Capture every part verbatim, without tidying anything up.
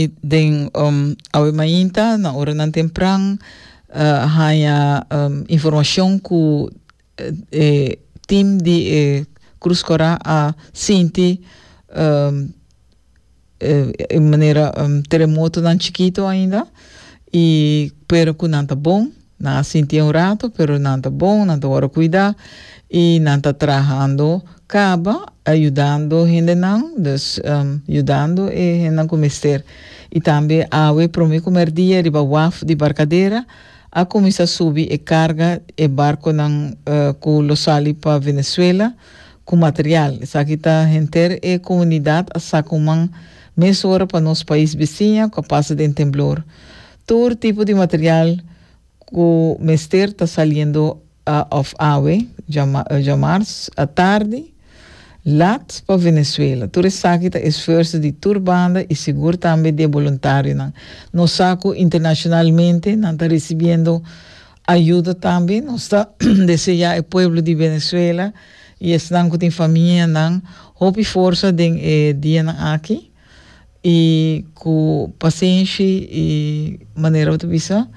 Tambe den um, awe mainta na oranan tempran uh, haya um, informacion cu eh, team di eh, Cruz Cora a sinti um, eh, manera um, teremotonan chikito ainda y pero cu nan ta bon, nan a sinti un rato, pero nan ta bon, nan ta wordo cuida y nan ta trahando caba, ayudando hendenan, dus um, ayudando e hendenan cu mester. Y tambe awe prome cu merdia riba waf di Barcadera a cuminsa subi e carga e barconan uh, cu lo sali pa Venezuela cu material. Esaki ta henter e comunidad a saca un man mesora pa nos pais bisiña cu a pasa den temblor. Tur tipo di material cu mester ta saliendo uh, of awe, diamars, atardi, laat pa Venezuela. Tur esaki ta esfuerso di tur banda y sigur tambe di voluntarionan. Nos sa cu internacionalmente nan ta recibiendo ayudo tambe. Nos ta desea e pueblo di Venezuela y esnan cu tin famianan hopi forsa den eh, dianan aki y cu pasenshi y manera di bisa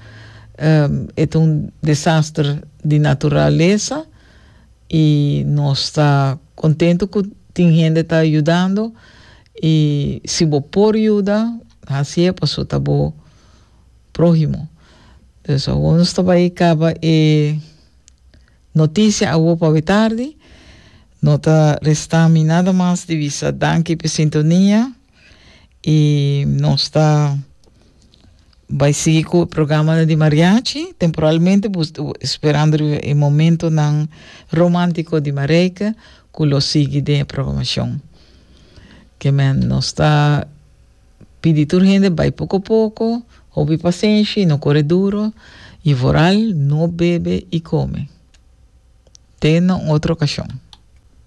um, e un desaster di naturalesa y nos ta contento cu tin hende ta yudando y si bo por yuda, asina paso ta bo prohimo. Dus nos ta bay caba e noticia awo pa tardi. No ta resta mi nada mas di bisa danki pa sintonia y nos ta bay sigui cu e programa di mariachi temporalmente, sperando e momentonan romantico di Marijke cu lo sigui den programacion. Kiermen nos ta pidi tur hende bay poco poco, hopi pasenshi, no core duro y vooral no bebe y come. Te otro ocasion.